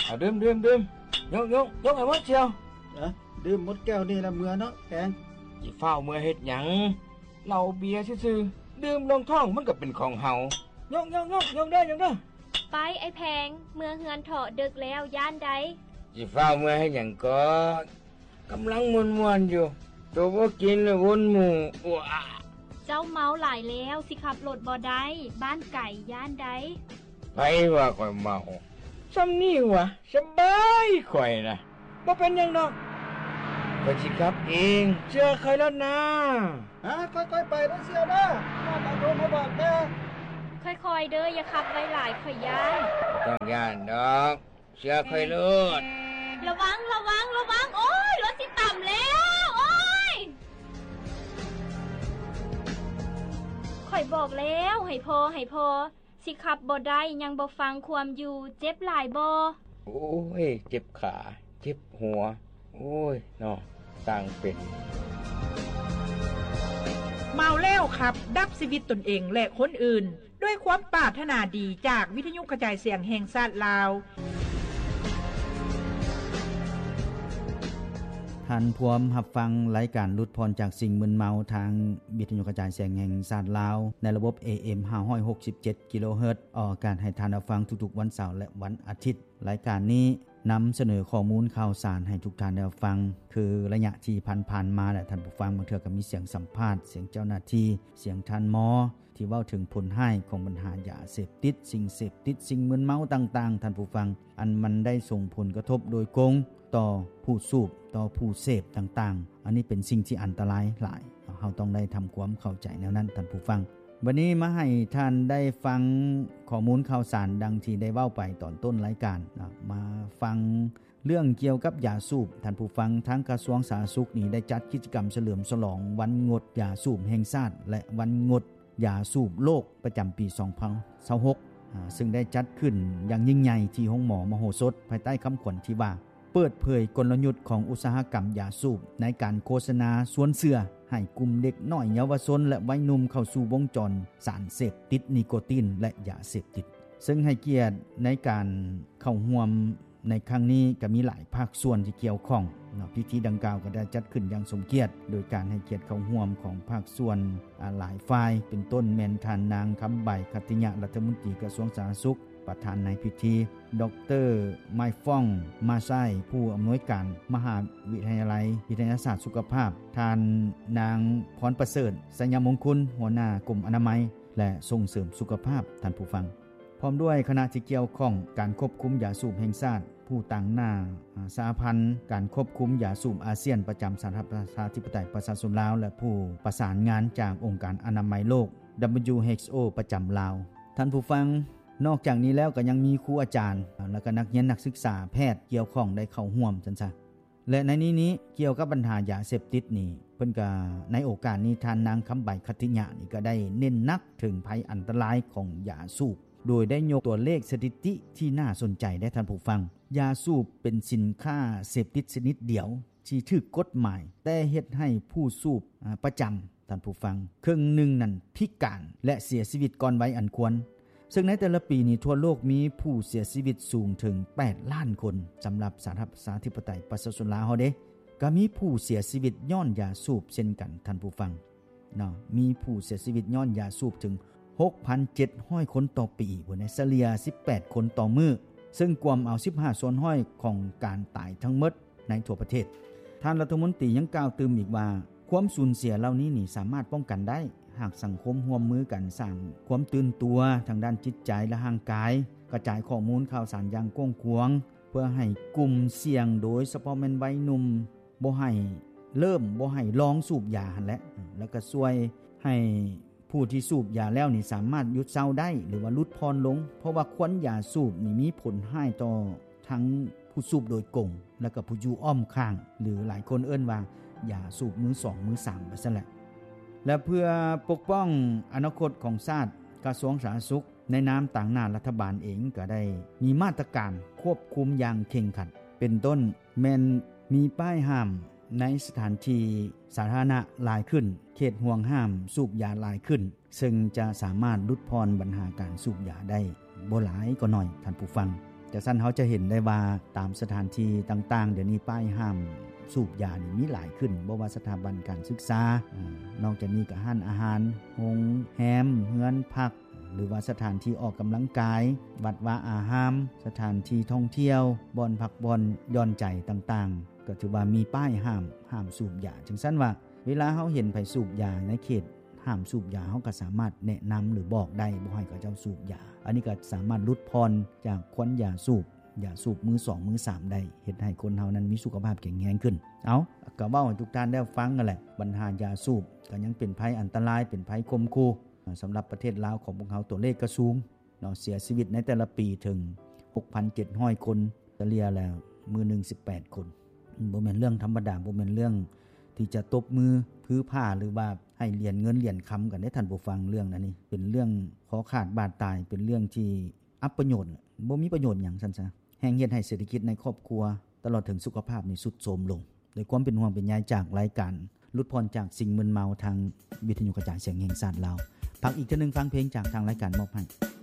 ເອົາດື່ມ ດື່ມ ດື່ມ ຍົກ ຍົກ ຍົກໃຫ້ໝົດສ່ຽວ. ເອີ ດື່ມໝົດແກ້ວນີ້ລະເມືອເນາະແປງ. ຊິຟ້າວເມືອເຮັດຫຍັງ? ເຫຼົ້າເບຍຊື່ໆ ດື່ມລົງທ້ອງມັນກໍເປັນຂອງເຮົາ. ຍົກ ຍົກ ຍົກ ຍົກເດີ ຍົກເດີ. ໄປ ໄອ້ແພງ ເມືອເຮືອນເຖາະ ດຶກແລ້ວ ຢ້ານໃດ. ຊິຟ້າວເມືອເຮັດຫຍັງກໍ ກຳລັງມ່ວນໆຢູ່ ໂຕບໍ່ກິນລະວົນໝູ່. ເຈົ້າເມົາຫຼາຍແລ້ວ ຊິຂັບລົດບໍ່ໄດ້ ບ້ານໄກ ຢ້ານໃດ. ໃຜວ່າຂ້ອຍເມົາ? ຊ່ຳນີ້ຫວາ? ສະບາຍ ຂ້ອຍນະ ບໍ່ເປັນຫຍັງດອກ ຂ້ອຍຊິຂັບເອງ ເຊື່ອຂ້ອຍໂລດນາ. ຮະ ຄ່ອຍໆໄປເດີສ່ຽວເດີ ມາບອກໂທມາບອກແດ່. ຄ່ອຍໆເດີ ຢ່າຂັບໄວຫຼາຍ ຂ້ອຍຢ້ານ. ບໍ່ຕ້ອງຢ້ານດອກ ເຊື່ອຂ້ອຍໂລດ. ລະວັງ ລະວັງ ລະວັງ ໂອ້ຍ ລົດຊິຕຳແລ້ວ ໂອ້ຍ. ຂ້ອຍບອກແລ້ວ ໃຫ້ພໍ ໃຫ້ພໍ ຊິຂັບບໍ່ໄດ້ ຍັງບໍ່ຟັງຄວາມຢູ່ ເຈັບຫຼາຍບໍ່? ໂອ້ຍ ເຈັບຂາ ເຈັບຫົວ ໂອ້ຍເນາະ ຊ່າງເປັນ. ເມົາແລ້ວຂັບ ດັບຊີວິດຕົນເອງ ແລະ ຄົນອື່ນ. ດ້ວຍຄວາມປາດຖະໜາດີຈາກວິທະຍຸກະຈາຍສຽງແຫ່ງຊາດລາວ. ທ່ານພວມຮັບຟັງລາຍການຫຼຸດຜ່ອນຈາກສິ່ງມຶນເມົາ ທາງວິທະຍຸກະຈາຍສຽງແຫ່ງຊາດລາວ ໃນລະບົບ ເອເອັມ ຫ້າຮ້ອຍຫົກສິບເຈັດ ກິໂລເຮີດ ອອກອາກາດໃຫ້ທ່ານຮັບຟັງທຸກໆວັນເສົາ ແລະ ວັນອາທິດ. ລາຍການນີ້ນຳສະເໜີຂໍ້ມູນຂ່າວສານໃຫ້ທຸກທ່ານໄດ້ຮັບຟັງ ຄືໄລຍະທີ່ຜ່ານໆມາ ແລະ ທ່ານຜູ້ຟັງ ບາງເທື່ອກໍມີສຽງສຳພາດ, ສຽງເຈົ້າໜ້າທີ່, ສຽງທ່ານໝໍ ທີ່ເວົ້າເຖິງຜົນຮ້າຍຂອງບັນຫາຢາເສບຕິດ, ສິ່ງເສບຕິດ, ສິ່ງມຶນເມົາຕ່າງໆ, ທ່ານຜູ້ຟັງ, ອັນມັນໄດ້ສົ່ງຜົນກະທົບໂດຍກົງຕໍ່ຜູ້ສູບ, ຕໍ່ຜູ້ເສບຕ່າງໆ. ອັນນີ້ເປັນສິ່ງທີ່ອັນຕະລາຍຫຼາຍ. ເຮົາຕ້ອງໄດ້ທຳຄວາມເຂົ້າໃຈແນວນັ້ນ, ທ່ານຜູ້ຟັງ. ບັດນີ້ມາໃຫ້ທ່ານໄດ້ຟັງຂໍ້ມູນຂ່າວສານ ດັ່ງທີ່ໄດ້ເວົ້າໄປຕອນຕົ້ນລາຍການນະ, ມາຟັງ ເລື່ອງກ່ຽວກັບຢາສູບ, ທ່ານຜູ້ຟັງ, ທາງກະຊວງສາທາລະນະສຸກນີ້ໄດ້ຈັດກິດຈະກຳສະເຫຼີມສະຫຼອງວັນງົດຢາສູບແຫ່ງຊາດ ແລະ ວັນງົດຢາສູບໂລກປະຈຳປີສອງພັນຊາວຫົກ ອາ ເຊິ່ງໄດ້ຈັດຂຶ້ນຢ່າງຍິ່ງໃຫຍ່ທີ່ໂຮງໝໍມະໂຫສົດ ພາຍໃຕ້ຄຳຂວັນທີ່ວ່າ ເປີດເຜີຍກົນລະຍຸດຂອງອຸດສາຫະກຳຢາສູບໃນການໂຄສະນາຊວນເຊື່ອໃຫ້ກຸ່ມເດັກນ້ອຍເຍົາວະຊົນ ແລະ ໄວໜຸ່ມເຂົ້າສູ່ວົງຈອນສານເສບຕິດນິໂກຕິນ ແລະ ຢາເສບຕິດ, ເຊິ່ງໃຫ້ກຽດໃນການເຂົ້າຮ່ວມ ໃນຄັ້ງນີ້ກໍມີຫຼາຍພາກສ່ວນທີ່ກ່ຽວຂ້ອງເນາະ. ພິທີດັ່ງກ່າວກໍໄດ້ຈັດຂຶ້ນຢ່າງສົມກຽດ ໂດຍການໃຫ້ກຽດເຂົ້າຮ່ວມຂອງພາກສ່ວນ ອາ ຫຼາຍຝ່າຍ ເປັນຕົ້ນແມ່ນທ່ານນາງ ຄຳໃບ ຂັດຕິຍະ ລັດຖະມົນຕີກະຊວງສາທາລະນະສຸກ ປະທານໃນພິທີ, ດອກເຕີ ມາຍຟອງ ມາຊາຍ ຜູ້ອຳນວຍການມະຫາວິທະຍາໄລວິທະຍາສາດສຸຂະພາບ, ທ່ານນາງ ພອນປະເສີດ ໄຊຍະມົງຄຸນ ຫົວໜ້າກົມອະນາໄມ ແລະ ສົ່ງເສີມສຸຂະພາບ, ທ່ານຜູ້ຟັງ. ພ້ອມດ້ວຍຄະນະທີ່ກ່ຽວຂ້ອງ ການຄວບຄຸມຢາສູບແຫ່ງຊາດ, ຜູ້ຕາງໜ້າ ອາ ສະຫະພັນການຄວບຄຸມຢາສູບອາຊຽນ ປະຈຳສະຫະລັດປະຊາທິປະໄຕປະຊາຊົນລາວ ແລະ ຜູ້ປະສານງານຈາກອົງການອະນາໄມໂລກ ດັບເບິນຢູເອັດເອັຊໂອ ປະຈຳລາວ. ທ່ານຜູ້ຟັງ, ນອກຈາກນີ້ແລ້ວກໍຍັງມີຄູອາຈານ ແລະ ກໍນັກຮຽນນັກສຶກສາແພດກ່ຽວຂ້ອງໄດ້ເຂົ້າຮ່ວມຊັ້ນຊະ. ແລະ ໃນນີ້ນີ້ ກ່ຽວກັບບັນຫາຢາເສບຕິດນີ້ ເພິ່ນກະ ໃນໂອກາດນີ້ ທ່ານນາງ ຄຳໃບ ຂັດຕິຍະ ນີ້ກະໄດ້ເນັ້ນໜັກເຖິງໄພອັນຕະລາຍຂອງຢາສູບ ໂດຍໄດ້ຍົກຕົວເລກສະຖິຕິທີ່ໜ້າສົນໃຈເດ້ທ່ານຜູ້ຟັງ. ຢາສູບເປັນສິນຄ້າເສບຕິດຊະນິດດຽວທີ່ຖືກກົດໝາຍ ແຕ່ເຮັດໃຫ້ຜູ້ສູບ ອາ ປະຈຳ ທ່ານຜູ້ຟັງ ເຄິ່ງໜຶ່ງນັ້ນພິການ ແລະ ເສຍຊີວິດກ່ອນໄວອັນຄວນ. ເຊິ່ງໃນແຕ່ລະປີນີ້ທົ່ວໂລກມີຜູ້ເສຍຊີວິດສູງເຖິງແປດລ້ານຄົນ. ສຳລັບສະຫະລັດປະຊາທິປະໄຕປະຊາຊົນລາວເຮົາເດ ກໍມີຜູ້ເສຍຊີວິດຍ້ອນຢາສູບເຊັ່ນກັນ ທ່ານຜູ້ຟັງເນາະ. ມີຜູ້ເສຍຊີວິດຍ້ອນຢາສູບເຖິງຫົກພັນເຈັດຮ້ອຍຄົນຕໍ່ປີພຸ້ນເດ ສະເລ່ຍສິບແປດຄົນຕໍ່ມື້ ເຊິ່ງກວມເອົາສິບຫ້າສ່ວນຮ້ອຍຂອງການຕາຍທັງໝົດ ໃນທົ່ວປະເທດ. ທ່ານລັດຖະມົນຕີຍັງກ່າວຕື່ມອີກວ່າ ຄວາມສູນເສຍເຫຼົ່ານີ້ນີ້ສາມາດປ້ອງກັນໄດ້ ຫາກສັງຄົມຮ່ວມມືກັນສ້າງຄວາມຕື່ນຕົວທາງດ້ານຈິດໃຈ ແລະ ຮ່າງກາຍ, ກະຈາຍຂໍ້ມູນຂ່າວສານຢ່າງກວ້າງຂວາງ ເພື່ອໃຫ້ກຸ່ມສ່ຽງ ໂດຍສະເພາະແມ່ນໄວໜຸ່ມ ບໍ່ໃຫ້ເລີ່ມ ບໍ່ໃຫ້ລອງສູບຢາຫັ້ນແຫຼະ ແລ້ວກະຊ່ວຍໃຫ້ ຜູ້ທີ່ສູບຢາແລ້ວນີ້ສາມາດຢຸດເຊົາໄດ້ ຫຼືວ່າຫຼຸດຜ່ອນລົງ ເພາະວ່າຄວັນຢາສູບນີ້ມີຜົນຮ້າຍຕໍ່ທັງຜູ້ສູບໂດຍກົງ ແລະກໍຜູ້ຢູ່ອ້ອມຂ້າງ ຫຼືຫຼາຍຄົນເອີ້ນວ່າຢາສູບມືສອງ ມືສາມ ວ່າຊັ້ນແຫຼະ. ແລະເພື່ອປົກປ້ອງອະນາຄົດຂອງຊາດ, ກະຊວງສາທາລະນະສຸກໃນນາມຕາງໜ້າລັດຖະບານເອງກໍໄດ້ມີມາດຕະການຄວບຄຸມຢ່າງເຄັ່ງຄັດ ເປັນຕົ້ນ ແມ່ນມີປ້າຍຫ້າມໃນສະຖານທີ່ສາທາລະນະຫຼາຍຂຶ້ນ, ເຂດຫ່ວງຫ້າມສູບຢາຫຼາຍຂຶ້ນ, ເຊິ່ງຈະສາມາດຫຼຸດຜ່ອນບັນຫາການສູບຢາໄດ້ບໍ່ຫຼາຍກໍໜ້ອຍ, ທ່ານຜູ້ຟັງ. ຈະຊັ້ນເຮົາຈະເຫັນໄດ້ວ່າ ຕາມສະຖານທີ່ຕ່າງໆ ດຽວນີ້ປ້າຍຫ້າມສູບຢານີ້ມີຫຼາຍຂຶ້ນ, ບໍ່ວ່າສະຖາບັນການສຶກສາ, ນອກຈາກນີ້ກໍຮ້ານອາຫານ, ໂຮງແຮມ, ເຮືອນພັກ ຫຼືວ່າສະຖານທີ່ອອກກຳລັງກາຍ, ວັດວາອາຮາມ, ສະຖານທີ່ທ່ອງທ່ຽວ, ບ່ອນພັກຜ່ອນຢ່ອນໃຈຕ່າງໆ ກໍຖືວ່າມີປ້າຍຫ້າມ, ຫ້າມສູບຢາ. ຈັ່ງຊັ້ນວ່າ ເວລາເຮົາເຫັນໃຜສູບຢາໃນເຂດຫ້າມສູບຢາ, ເຮົາກໍສາມາດແນະນຳ ຫຼື ບອກໄດ້ ບໍ່ໃຫ້ເຂົາເຈົ້າສູບຢາ. ອັນນີ້ກໍສາມາດຫຼຸດຜ່ອນຈາກຄວັນຢາສູບ, ຢາສູບມືສອງ ມືສາມໄດ້, ເຮັດໃຫ້ຄົນເຮົານັ້ນມີສຸຂະພາບແຂງແຮງຂຶ້ນ. ເອົາ, ກໍເວົ້າໃຫ້ທຸກທ່ານໄດ້ຟັງນັ້ນແຫຼະ, ບັນຫາຢາສູບກໍຍັງເປັນໄພອັນຕະລາຍ, ເປັນໄພຂົ່ມຂູ່ສຳລັບປະເທດລາວຂອງພວກເຮົາ. ຕົວເລກກໍສູງເນາະ, ເສຍຊີວິດໃນແຕ່ລະປີເຖິງຫົກພັນເຈັດຮ້ອຍຄົນ, ສະເລ່ຍແລ້ວມື້ໜຶ່ງສິບແປດຄົນ. ບໍ່ແມ່ນເລື່ອງທຳມະດາ, ບໍ່ແມ່ນເລື່ອງທີ່ຈະຕົບມືຜືຜາ ຫຼືວ່າໃຫ້ຫຼຽນເງິນຫຼຽນຄຳກັນເດ້ທ່ານຜູ້ຟັງ. ເລື່ອງອັນນີ້ເປັນເລື່ອງຄໍຂາດບາດຕາຍ, ເປັນເລື່ອງທີ່ອັບປະໂຫຍດ, ບໍ່ມີປະໂຫຍດຫຍັງຊັ້ນຊະ, ແຮ່ງເຮັດໃຫ້ເສດຖະກິດໃນຄອບຄົວ ຕະຫຼອດເຖິງສຸຂະພາບນີ້ຊຸດໂຊມລົງ. ດ້ວຍຄວາມເປັນຫ່ວງເປັນໃຍຈາກລາຍການຫຼຸດຜ່ອນຈາກສິ່ງມຶນເມົາ ທາງວິທະຍຸກະຈາຍສຽງແຫ່ງຊາດລາວ. ພັກອີກເທື່ອໜຶ່ງ, ຟັງເພງຈາກທາງລາຍການມອບໃຫ້.